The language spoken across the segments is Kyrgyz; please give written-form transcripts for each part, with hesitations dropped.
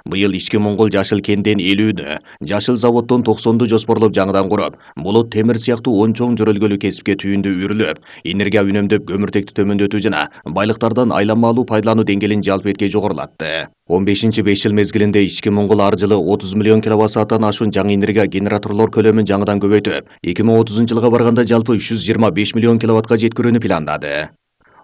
Быйыл ички Моңгол жашыл кенден 50-нү, жашыл заводдон 90-ду жоспорлоп жаңыдан куруп, болот темир сыяктуу 10 чоң жөрөлгөлүү кесипке түйүндү үрүлүп, энергия үнөмдөп көмүртекти төмөндөтүү жана байлыктардан айланмалуу пайдалануу деңгээлин жалпы этке жогорулатты. 15-5 жыл мезгилинде ички Моңгол ар жылы 30 миллион киловатт-сааттан ашуун жаңы энергия генераторлор көлөмүн жаңыдан көбөйтүп, 2030-жылга барганда жалпы 325 миллион киловаттка жеткирүүнү пландады.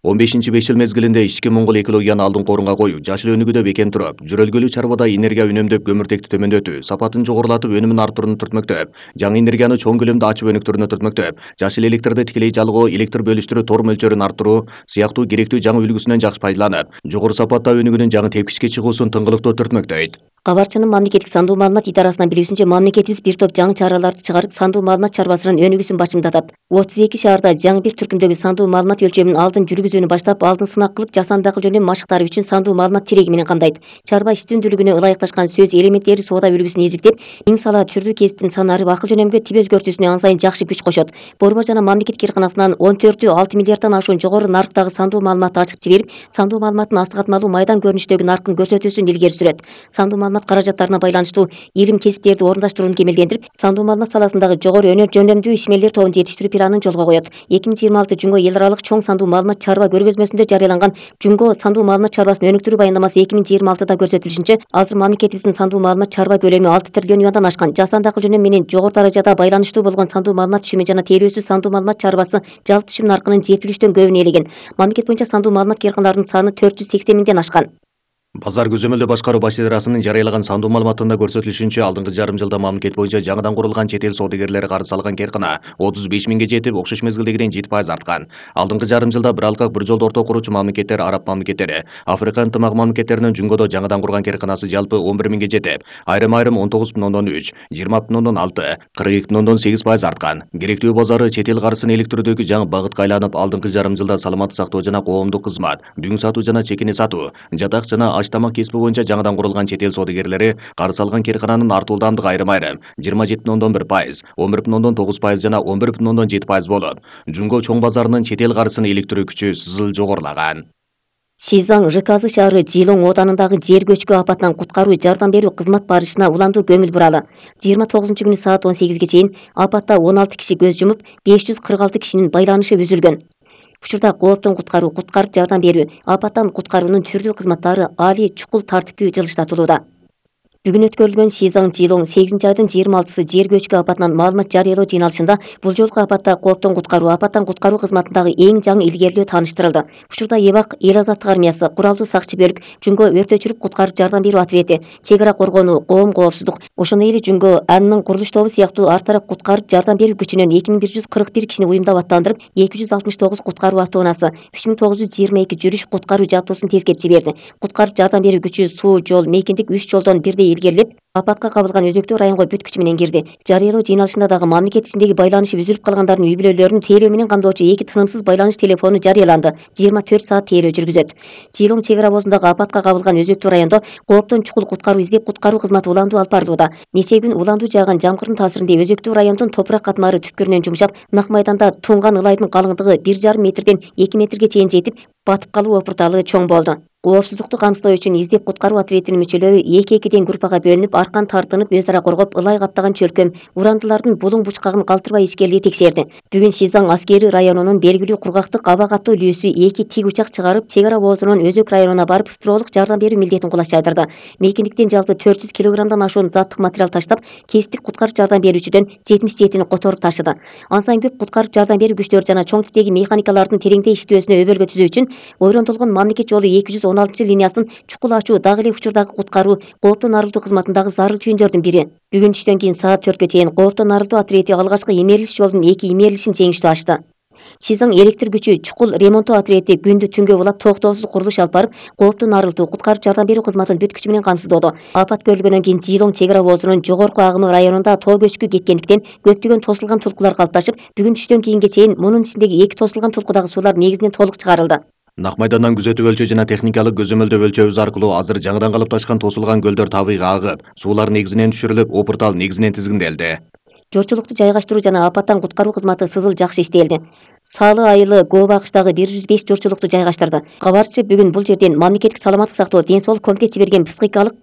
15-5 жыл мезгилинде ички Моңгол экологияны алдыңкы орунга коюу, жашыл өнүгүүдө бекем туруп, жөрөлгөлүү чарбада энергия үнөмдөп көмүртекти төмөндөтүү, сапатын жогорулатып, өнүмүн арттырууну түртмөктөп, жаңы энергияны чоң көлөмдө ачып өнүктүрүүнү түртмөктөп, жашыл электрди тикелей жалгоо, электр бөлүштүрүү тор мөлчөрүн арттыруу сыяктуу керектүү жаңы үлгүсүнөн жакшы пайдаланып, жогору сапатта өнүгүүнүн жаңы тепкичке чыгуусун тыңгылыктоо түртмөктөйт. Кабарчынын мамлекеттик сандуу маалымат идарасынан билүүсүнчө, мамлекетибиз бир топ жаңы чараларды чыгарып, сандуу маалымат чарбасынын өнүгүүсүн башымдатат. 32 шаарда жаңы бир түркүмдөгү сандуу маалымат өлчөмүн алдын жүргүзүүнү баштап, алдын сынак кылып, жасанды акыл жөндөм машыктары үчүн сандуу маалымат тиреги менен камдайт. Чарба ишчүндүүлүгүнө ылайыкташкан сөз элементтери соода үлгүсүн эзиктеп, иң сала түрдүү кесиптин санары акыл жөнөмгө тип өзгөртүүсүнө ан сайын жакшы күч кошот. Борбор жана мамлекеттик кыйрканасынан 14-6 миллиарддан ашуун жогору нарыктагы сандуу маалыматты ачып жиберип, сандуу маалыматтын астык атмалуу майдан көрүнүштөгү наркын көрсөтүүсүн илгери сүрөт. Сандуу маалымат каражаттарына байланыштуу илим кесиптерди орундаштырууну кемелдендирип, сандуу маалымат саласындагы жогору өнөр жөндөмдүү ишмерлер тобун жетиштирүү планын жолго коет. 2026 Жунго эл аралык чоң сандуу маалымат чарба көргөзмөсүндө жарыяланган Жунго сандуу маалымат чарбасын өнүктүрүү баяндамасы 2026-да көрсөтүлүшүнчө, азыр мамлекетибиздин сандуу маалымат чарба көлөмү 6 триллион юандан ашкан. Жасанды акыл жөнөм менен жогору даражада байланыштуу болгон сандуу маалымат түшүмү жана тейлөөсүз сандуу маалымат чарбасы жалпы түшүм наркынын 7/3 көбүн ээлеген. Мамлекет боюнча сандуу маалымат кыйрканаларынын саны 480 миңден ашкан. Базар көзөмөлдөө башкаруу баш идарасынын жарыялаган сандуу маалыматында көрсөтүлүшүнчө, алдыңкы жарым жылда мамлекет боюнча жаңыдан курулган чет эл соодагерлери карыз алган кыйркана 35 миңге жетип, окшош мезгилдегиден 7% арткан. Алдыңкы жарым жылда бир алкак бир жолду орто куручу мамлекеттер араб мамлекеттери, Африка ынтымак мамлекеттеринин Жунгодо жаңыдан курган кыйрканасы жалпы 11 миңге жетип, айрым 19,3, 20,6, 42,8% арткан. Керектүү базары чет эл карызын иликтирүүдөгү жаңы багытка айланып, алдыңкы жарым жылда саламаттык сактоо жана коомдук кызмат, дүң сатуу жана чекине сатуу, жатак жана аш-тамак кесиби боюнча жаңыдан курулган чет эл соодагерлери карыз алган кыйркананын артуу ылдамдыгы айрым 27,1%, 11,9% жана 11,7% болуп, Жунго чоң базарынын чет эл карызын иликтирүү күчү сызыл жогорулаган. Шизаң Жыказы шаары Жылоң оданындагы жер көчкү апатынан куткаруу жардам берүү кызмат барышына уландуу көңүл буралы. 29-күнү саат 18ге чейин апатта 16 киши көз жумуп, 546 кишинин байланышы үзүлгөн. Учурда кооптон куткаруу, куткарып жардам берүү, апаттан куткаруунун түрдүү кызматтары али чукул тартиптүү жылыштатылууда. Бүгүн өткөрүлгөн Шизаң Жылоң 8-айдын 26-сы жер көчкү апатынан маалымат жарыялоо жыйналышында бул жолку апаттан куткаруу кызматындагы эң жаңы илгерилөө тааныштырылды. Учурда Эбак эл азаттык армиясы, куралдуу сакчы бөлүк, Жунго өртөчүлүк куткарып жардам берүү ответи, чек ара коргонуу, коом коопсуздук, ошондой эле Жунго анын курулуш тобу сыяктуу ар тарап куткарып жардам берүү күчүнөн 2141 кишини уюмдап аттандырып, 269 куткаруу автоунаасы, 3922 жүрүш куткаруу жабдуусун тескеп жиберди. Куткарып жардам берүү күчү суу, жол, мейкиндик 3 жолдон бирдей илгерилеп, апатка кабылган өзөктүү районго бүт күчү менен кирди. Жарыялоо жыйналышында дагы мамлекет ичиндеги байланышы үзүлүп калгандардын үй бүлөлөрүн тейлөө менен камдоочу 2 тынымсыз байланыш телефону жарыяланды. 24 саат тейлөө жүргүзөт. Жылоң чек ара обозундагы апатка кабылган өзөктүү райондо кооптон чукул куткаруу издеп куткаруу кызматы уландуу алып барылууда. Нече күн уландуу жааган жамгырдын таасиринде өзөктүү райондун топурак катмары түпкүрүнөн жумшап, нак майданда тунган ылайдын калыңдыгы 1,5 метрден 2 метрге чейин жетип, батып калуу опурталы чоң болду. Коопсуздукту камсыздоо үчүн издеп куткаруу ответинин мүчөлөрү 2-2ден группага бөлүнүп, аркан тартынып, өз ара коргоп, ылай каптаган чөлкөм, урандылардын булуң бучкагын калтырбай ичкелди текшерди. Бүгүн Шизаң аскери районунун белгилүү кургактык абак аттуу үлүүсү 2 тик учак чыгарып, чек ара обозунун Өзөк районуна барып, стролук жардам берүү милдетин кулаш жайдырды. Мейкиндиктен жалпы 400 килограммдан ашуун заттык материал таштап, кесиптик куткарып жардам берүүчүдөн 77-ни которуп ташыды. Ан сайын көп куткарып жардам берүү күчтөрү жана чоң типтеги механикалардын тереңдей иштөөсүнө өбөлгө түзүү үчүн ойрондолгон мамлекет жолу 216 линиясын чукул ачуу дагы эле учурдагы куткаруу, кооптон арылтуу кызматындагы зарыл түйүндөрдүн бири. Бүгүн түштөн кийин саат 4ге чейин кооптон арылтуу ответи алгачкы имерилиш жолдун 2 имерилишин жеңиштүү ачты. Шизаң электр күчү чукул ремонттоо ответи күндү түнгө улап токтоосуз курулуш алып барып, кооптон арылтуу, куткарып жардам берүү кызматын бүт күчү менен камсыздоодо. Апат көрүлгөндөн кийин Жылоң чек ара обозунун жогорку агымы районунда тоо көчкү кеткендиктен көптөгөн тосулган тулкулар калыпташып, бүгүн түштөн кийинге чейин мунун ичиндеги 2 тосулган тулкудагы суулар негизинен толук чыгарылды. Нак майдандан күзөтүп өлчөө жана техникалык көзөмөлдөө өлчөөбүз аркылуу азыр жаңыдан калыпташкан тосулган көлдөр табыйга агып, суулар негизинен түшүрүлүп, опуртал негизинен тизгинделди. Жорчулукту жайгаштыруу жана апаттан куткаруу кызматы сызыл жакшы иштелди. Салы айылы Гоба акчтагы 105 жорчулукту жайгаштырды. Кабарчы бүгүн бул жерден мамлекеттик саламаттык сактоо, ден соолук комитет жиберген психикалык